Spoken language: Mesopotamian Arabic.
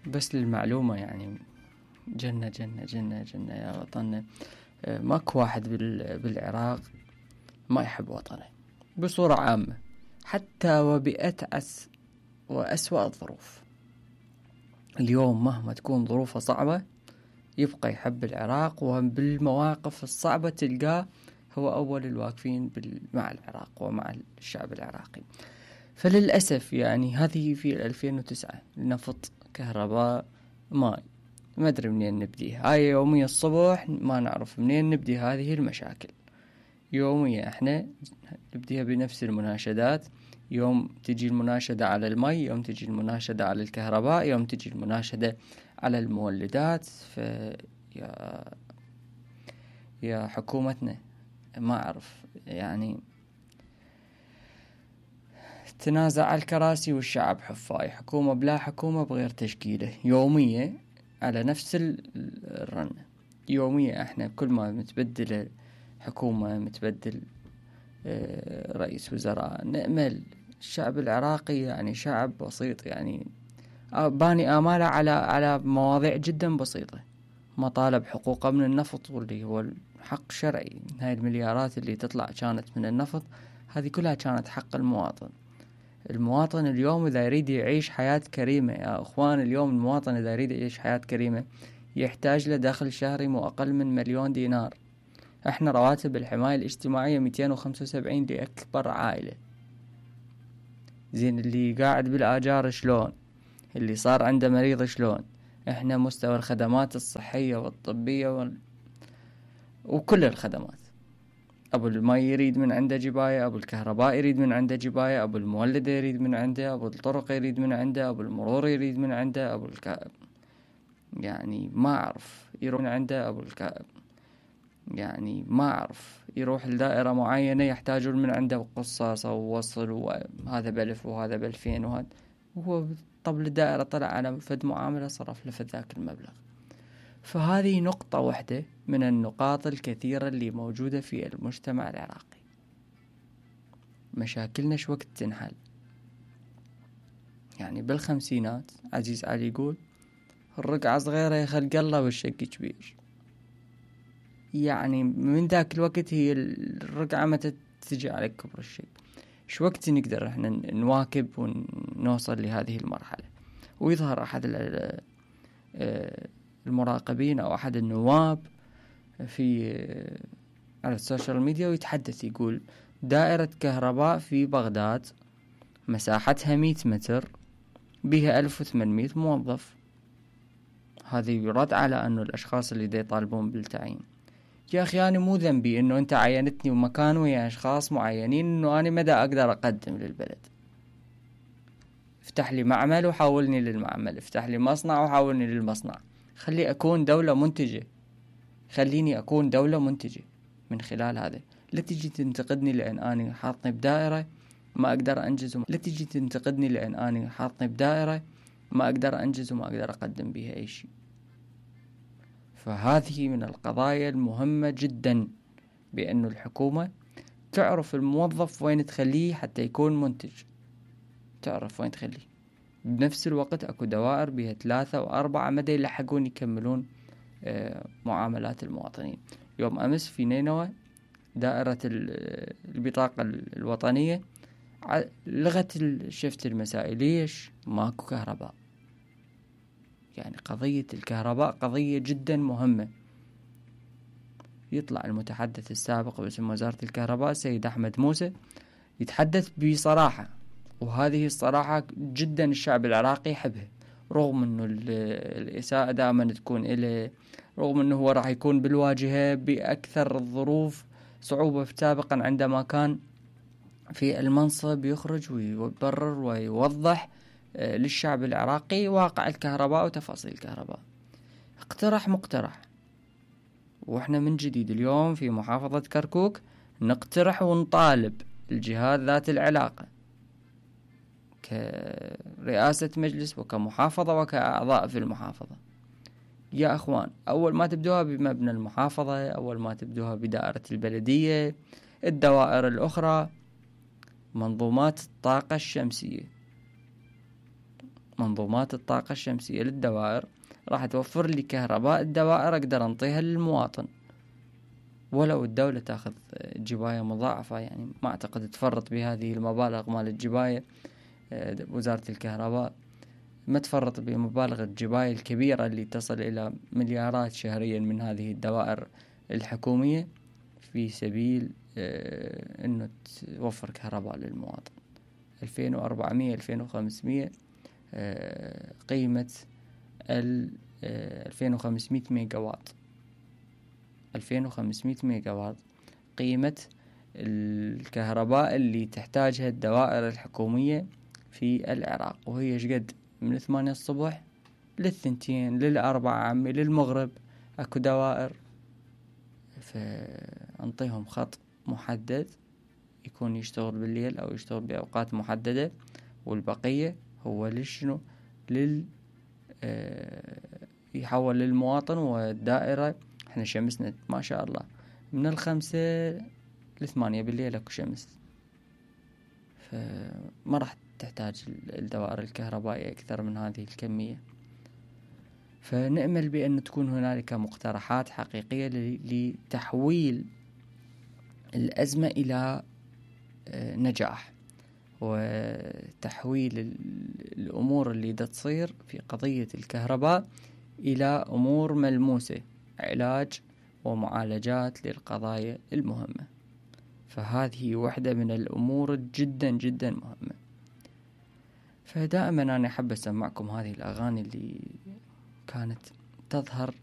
بس للمعلومة يعني جنة جنة جنة جنة يا وطننا. ماكو واحد بالعراق ما يحب وطنه بصورة عامة، حتى وبأتعس وأسوأ الظروف. اليوم مهما تكون ظروفه صعبة يبقى يحب العراق، وبالمواقف الصعبة تلقاه هو أول الواقفين مع العراق ومع الشعب العراقي. فللأسف يعني هذه في 2009 نفط، كهرباء، ماء، ما أدري منين نبديها. هاي يومية الصبح ما نعرف منين نبدي هذه المشاكل. يومية احنا نبديها بنفس المناشدات، يوم تجي المناشدة على المي، يوم تجي المناشدة على الكهرباء، يوم تجي المناشدة على المولدات. يا حكومتنا ما أعرف يعني تنازع على الكراسي والشعب حفاي، حكومة بلا حكومة بغير تشكيله، يومية على نفس الرنة. يومية احنا كل ما متبدل حكومة، متبدل رئيس وزراء، نأمل الشعب العراقي يعني شعب بسيط، يعني باني آماله على مواضيع جدا بسيطة. مطالب حقوقه من النفط، واللي هو حق شرعي. هاي المليارات اللي تطلع كانت من النفط هذه كلها كانت حق المواطن. المواطن اليوم إذا يريد يعيش حياة كريمة يا أخوان، اليوم المواطن إذا يريد يعيش حياة كريمة يحتاج له دخل شهري مو أقل من 1,000,000 دينار. احنا رواتب الحماية الاجتماعية 275 لأكبر عائلة. زين اللي قاعد بالآجار شلون؟ اللي صار عنده مريض شلون؟ احنا مستوى الخدمات الصحية والطبية وكل الخدمات، أبو المي يريد من عنده جباية، أبو الكهرباء يريد من عنده جباية، أبو المولد يريد من عنده، أبو الطرق يريد من عنده، أبو المرور يريد من عنده، يعني ما أعرف يروح من عنده، يعني ما أعرف يروح لدائرة معينة يحتاجون من عنده قصاصة ووصل، وهذا ب1000 وهذا ب2000 وهذا، وهو طبل الدائرة طلع على فد معاملة صرف لفد ذاك المبلغ. فهذه نقطة واحدة من النقاط الكثيرة اللي موجودة في المجتمع العراقي. مشاكلنا شو وقت تنحل؟ يعني بالخمسينات عزيز علي يقول الرقعة صغيرة يخلق الله والشق كبير. يعني من ذاك الوقت هي الرقعة متى تجي على كبر الشيء. شو وقت نقدر احنا نواكب ونوصل لهذه المرحلة؟ ويظهر أحد المراقبين أو أحد النواب على السوشيال ميديا ويتحدث يقول دائرة كهرباء في بغداد مساحتها 100 متر بها 1800 موظف. هذا يرد على أنه الأشخاص اللي دا يطالبون بالتعيين. يا أخي أنا مو ذنبي أنه أنت عينتني ومكان ويا أشخاص معينين أنه أنا مدى أقدر أقدم للبلد. افتح لي معمل وحاولني للمعمل، افتح لي مصنع وحاولني للمصنع. خليني أكون دولة منتجة من خلال هذا. لا تجي تنتقدني لأن أنا حاطني بدائرة ما أقدر أنجز، لا تجي تنتقدني لأن أنا حاطني بدائرة ما أقدر أنجز وما أقدر أقدم بها أي شيء. فهذه من القضايا المهمة جدا، بأنه الحكومة تعرف الموظف وين تخليه حتى يكون منتج، تعرف وين تخليه. بنفس الوقت أكو دوائر بها 3 و4 مدى يلحقون يكملون معاملات المواطنين. يوم أمس في نينوى دائرة البطاقة الوطنية لغت الشفت المسائي. ليش؟ ماكو كهرباء. يعني قضية الكهرباء قضية جدا مهمة. يطلع المتحدث السابق باسم وزارة الكهرباء سيد أحمد موسى يتحدث بصراحة، وهذه الصراحة جدا الشعب العراقي يحبها، رغم أنه الإساءة دائما تكون إليه، رغم أنه هو راح يكون بالواجهة بأكثر الظروف صعوبة سابقا عندما كان في المنصب، يخرج ويبرر ويوضح للشعب العراقي واقع الكهرباء وتفاصيل الكهرباء. مقترح وإحنا من جديد اليوم في محافظة كركوك نقترح ونطالب الجهات ذات العلاقة كرئاسة مجلس وكمحافظة وكأعضاء في المحافظة. يا أخوان، أول ما تبدوها بمبنى المحافظة، أول ما تبدوها بدائرة البلدية، الدوائر الأخرى، منظومات الطاقة الشمسية، منظومات الطاقة الشمسية للدوائر راح توفر لي كهرباء الدوائر أقدر أنطيها للمواطن، ولو الدولة تاخذ جباية مضاعفة. يعني ما أعتقد تفرط بهذه المبالغ مال الجباية. وزارة الكهرباء ما تفرط بمبالغ الجباية الكبيرة اللي تصل إلى مليارات شهريا من هذه الدوائر الحكومية في سبيل أنه توفر كهرباء للمواطن. 2400 2500 قيمة 2500 ميجا واط. 2500 ميجا واط قيمة الكهرباء اللي تحتاجها الدوائر الحكومية في العراق، وهي شقد من 8 الصبح ل2 ل4 عمي للمغرب اكو دوائر. فانطيهم خط محدد يكون يشتغل بالليل او يشتغل باوقات محددة، والبقية هو للشنو يحول للمواطن. والدائرة احنا شمسنا ما شاء الله من 5 ل8 بالليل اكو شمس، فما راح تحتاج الدوائر الكهربائية اكثر من هذه الكمية. فنأمل بأن تكون هنالك مقترحات حقيقية لتحويل الأزمة إلى نجاح، وتحويل الأمور اللي دا تصير في قضية الكهرباء إلى أمور ملموسة، علاج ومعالجات للقضايا المهمة. فهذه واحدة من الأمور جدا جدا مهمة. فدائما أنا أحب أسمعكم هذه الأغاني اللي كانت تظهر